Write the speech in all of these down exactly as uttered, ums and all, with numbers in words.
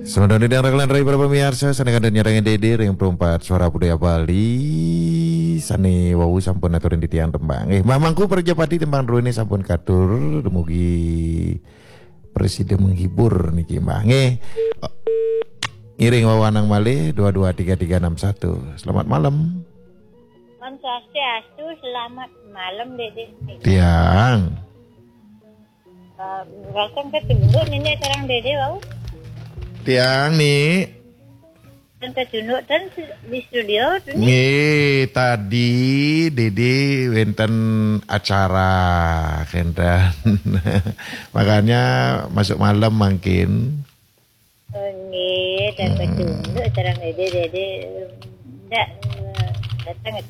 Semeton ingkang ragil lan rai para pamiarsa, sané kantun nyarengin Dédé ring Perempat Suara Budaya Bali, sané wau sampun aturin titiang tembang. Nggih, Mamangku Prajapati tembang druéné sampun katur, dumugi prasida menghibur niki, Mbah. Nggih. Ngiring wawanang malih dua dua tiga tiga enam satu. Selamat malam. Om Swastiastu, selamat malam, Dédé. Tiang. Eh, datang ke Tunduk, Nénék sareng Dédé wau. Tiang, Nik. Datang ke Tunduk, dan di studio, tuh, Nik. Nggih, tadi Dédé wénten acara, kénten. Makanya masuk malam mangkin. Oh, nggih, datang ke Tunduk, sareng Dédé, Dédé. Ndak, eh, datang.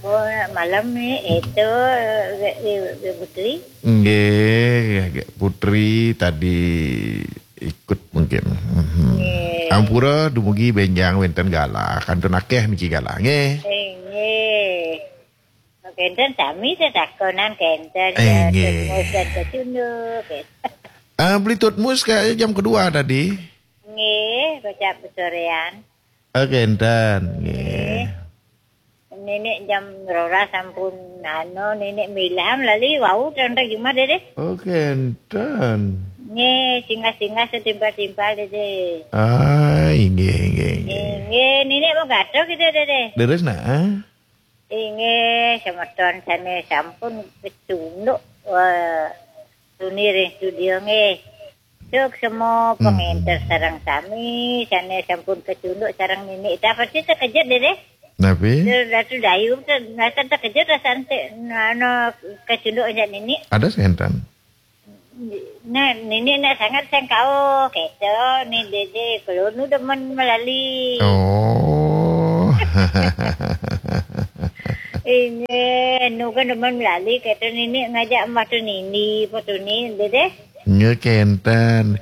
Oh, malam nih, itu, eh, eh, eh, Putri. Nggih, Putri tadi ikut mungkin. Mhm. Nggih. Ampura dumugi bénjang wénten galah, kantun akéh niki galah, nggih. Eh, nggih. Kénten sami setakonan kénten, eh, ya, nggih. Tutmus dan kecunduk, gitu. Ah, beli tutmus kayaknya jam kedua tadi. Nggih, kocap besorean. Eh, kénten, nggih. Nggih. Nénék jam rolas sampun anu, Nénék miliham lali wau tentang Jumat, Dédé. Oh, kénten. Nggih, singgah-singgah setimpal-timpal, Dédé. Ah, inggih, inggih, inggih. Nggih, Nénék mau gatel gitu, Dédé. Leres, nah. Inggih, semeton sané sampun kecunduk, wah, tuni ring studio nggih. Suksma, hmm, pengénter sareng sami, sané sampun kecunduk sareng Nénék. Dah pasti terkejut, Dédé. Napi? Datu Dayu, ter-, rasa terkejut, rasa ente, anu, kecunduk aja Nénék. Ada sénten. Nah, Nénék nak sangat sengkao, gitu, nih Dédé, kalau nu demen melali. Oh. Ini, nu kan demen melali, gitu, Nénék ngajak Mbah Tunindi, apa Tuni, Dédé? Nggih, kénten.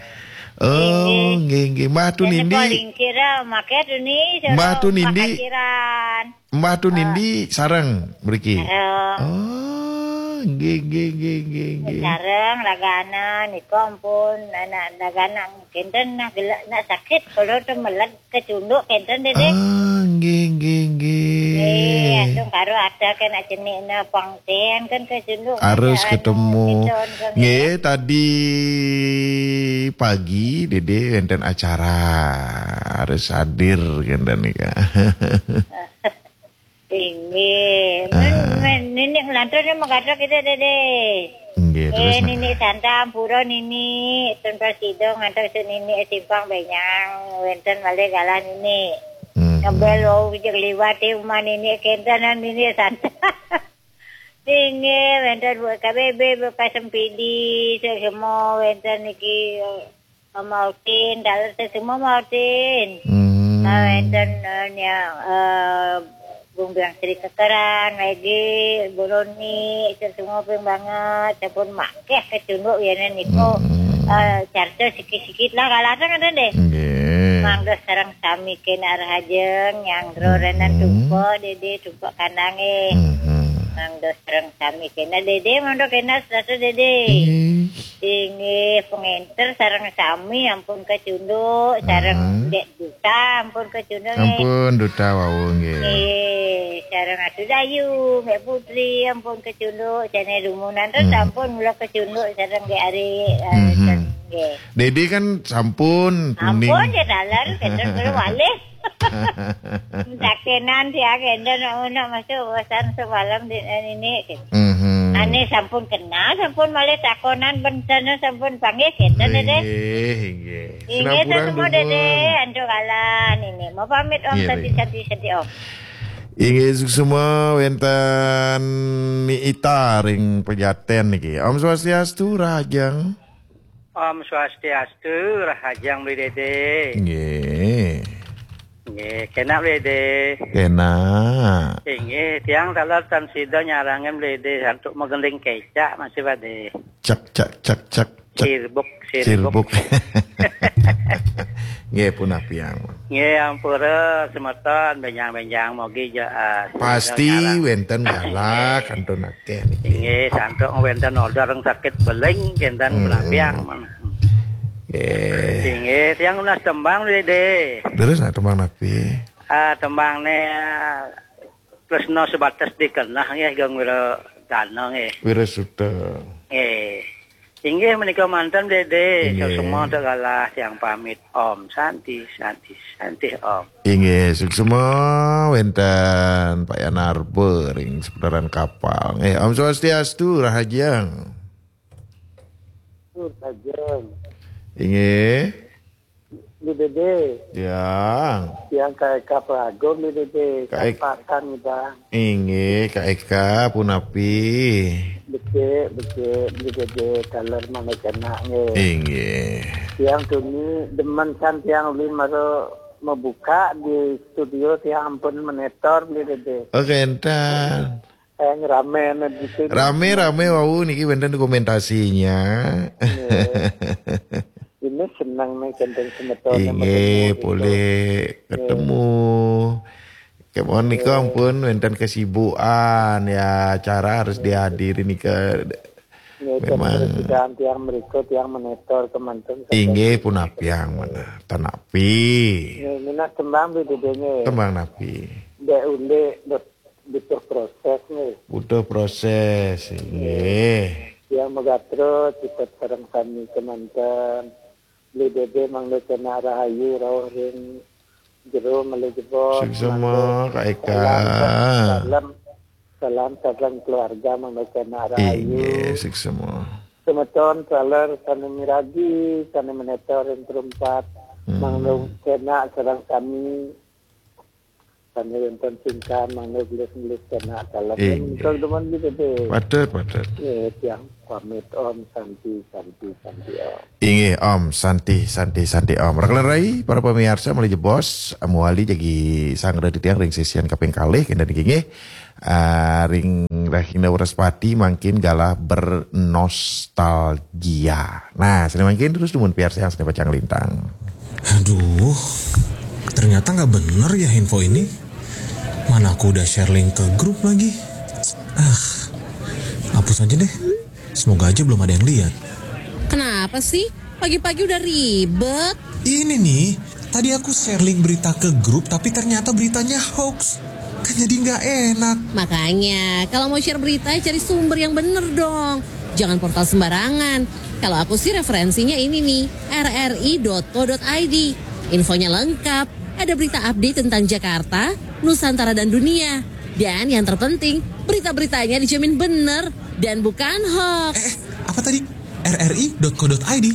Oh, nggih, nggih. Mbah Tunindi. Paling kira maké Tuni, Mbah Tunindi. Pakaciran. Mbah Tunindi sareng mriki. Sareng. Oh, nggih, nggih, nggih, nggih, nggih. Sareng raganan niku ampun anak raganan kénten nak gelek nak sakit kalau temelet kecunduk kénten, Dédé. Ah, nggih, nggih, nggih. Nggih, langsung karo ada kena jenikna pangten kan kecunduk. Harus ada anu, ketemu. Kénten, kan. Nggih, tadi pagi Dédé wénten acara harus hadir kénten nika. Inggih. Ah. Men, men, Nénék ngelantur nih mengkata kita, Dédé. Inggih, terus, eh, nak. Nénék Santa, ampura Nénék, ten prasida ngantos Nénék simpang benyang, wénten malih galah Nénék. Hmm. Ngebel wau jek liwat di rumah Nénék, kéntenan Nénék Santa. Inggih, wénten buat K B B, buat Sempidi, semua wénten niki, Mautin, dalu semua Mautin. Hmm. Nah, wénten, eh, nya, eh, Bung Biang Sri Kekeran, Megi, Buroni, itu semua pun banget. Sampun makéh kecunduk ya niku. Hmm. Eh, carta sikit-sikit lah, kalahkan ada deh. Nggih. Mangga sareng sami kena rahajeng, nyanggra renan, hmm, tumpek, Dédé, tumpek kandangé. Hmm. Mangga sareng sami kena, Dédé, mangga kena serasa, Dédé. Nggih. Inggih, pengénter sareng sami ampun kecunduk, sareng, hmm, Dék Duta ampun kecunduk, nggih. Ampun Duta wau, nggih. Nggih, sareng Atu Dayu, Mbak Putri ampun kecunduk, sané dumunan terus, hmm, ampun mula kecunduk sareng Dék Ari, eh, hmm, sareng, nggih. Dédé kan sampun kuning. Ampun, ya dalan, kecunduk terus malih. Takenan dia kenten nak masuk urusan semalam di ini. Mhm. Ane sampun kenal, sampun malih takonan benten sampun panggih kenten, Dede. Inggih, inggih. Inggih, semua, Dede, antuk kalan ini. Mau pamit, Om. Iya, Sadi, iya. Sadi, Sadi, Om. Inggih, suksma wenten Ni Ita ring Pejaten niki. Om Swastiastu, Rahajeng. Om Swastiastu, Rahajeng Beli Dede. Nggih. Nggih, kenak Beli Dede. Kenak. Inggih, tiang taler tan sida nyarengin Beli Dede antuk magending kecak masih pade. Cak, cak, cak, cak, cak. Sirbuk, sirbuk. Sirbuk. Nggih, punapiang. Nggih, ampura semeton, benjang-benjang mogi ja, ah, pasti nyarang. Wenten galak, kantun akeh niki. Inggih, santuk wenten order sakit beling, kenten, hmm, punapiang. Nggih. Inggih, Tiang nunas tembang, Dédé. Terus, nah, tembang napi? Ah, tembang né, ah, tresna sebatas dikenah nggih, Geng Wira Dana nggih. Wira Suta. Nggih. Inggih menika manten, Dédé. Inggih. Semua tak kalah tiang pamit. Om Santi, Santi, Santi, Om. Inggih, suksma wénten Pak Yanarba ring seputaran kapal. Nggih, Om Swastiastu, rahajeng. Rahajeng. Inggih. Bli Dédé. Yang. Yang Kak Eka Pragung, Bli Dédé. Kak Ek- Kapakan, Bang. Inggih, Kak Eka, punapi? Becik, becik, Bli Dédé, taler mangda kenak nggih. Inggih. Tiang tuni demen kan tiang uli mara mabuka di studio, tiang ampun menetor, Bli Dédé. Oke, entan. Eh, rame di sini. Rame, rame, wau niki wénten dokumentasinya. Nggih. Ini seneng nih, gandeng semeton. Inggih, boleh ketemu. Kemon nika ampun wénten kesibukan ya, acara harus dihadiri nika. Nggih, memang. Terus tiang mriku, tiang menetor kemanten. Inggih, punapiang mana? Tanapi. Nggih, minat tembang Bli Dédé nggih. Tembang napi? Dek ulik, dek butuh proses nggih. Butuh proses, inggih. Tiang magatra cipet sareng sami kemanten. Bli Dédé mangda kenak rahayu rauh ring jero malih jebos. Suksma, mangda Kak Eka. Salam, salam, salam sareng keluarga mangda kenak rahayu. Inggih, suksma. Semeton taler sané miragi, sané menetor ring perempat, mangda kenak sareng sami. Sané wénten sungkan mangda gelis-gelis kenak taler. Inggih. Menika demen Bli Dédé. Patut, patut. Nggih, tiang pamit, Om Santi, Santi, Santi, Om. Inggih, Om Santi, Santi, Santi, Om. Raka lan rai, para pamiarsa, malih jebos, mawali jagi sanggra titiang ring sesian kaping kalih, kénten niki nggih. Ah, ring Rahina Wraspati mangkin galah bernostalgia. Nah, sané mangkin terus dumun piarsayang sané pacang lintang. Aduh, ternyata nggak bener ya info ini. Mana aku udah share link ke grup lagi. Ah, hapus aja deh. Semoga aja belum ada yang lihat. Kenapa sih? Pagi-pagi udah ribet. Ini nih, tadi aku share link berita ke grup, tapi ternyata beritanya hoax. Kan jadi nggak enak. Makanya, kalau mau share berita, cari sumber yang bener dong. Jangan portal sembarangan. Kalau aku sih referensinya ini nih, R R I dot co dot I D. Infonya lengkap. Ada berita update tentang Jakarta, Nusantara dan dunia. Dan yang terpenting, berita-beritanya dijamin bener dan bukan hoax. Eh, eh, apa tadi? R R I dot co dot I D.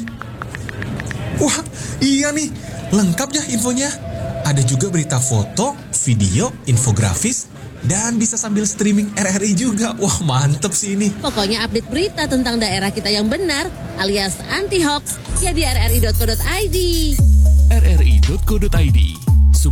Wah, iya nih. Lengkap ya infonya. Ada juga berita foto, video, infografis, dan bisa sambil streaming R R I juga. Wah, mantep sih ini. Pokoknya update berita tentang daerah kita yang benar alias anti hoax ya di R R I dot co dot I D. R R I dot co dot I D.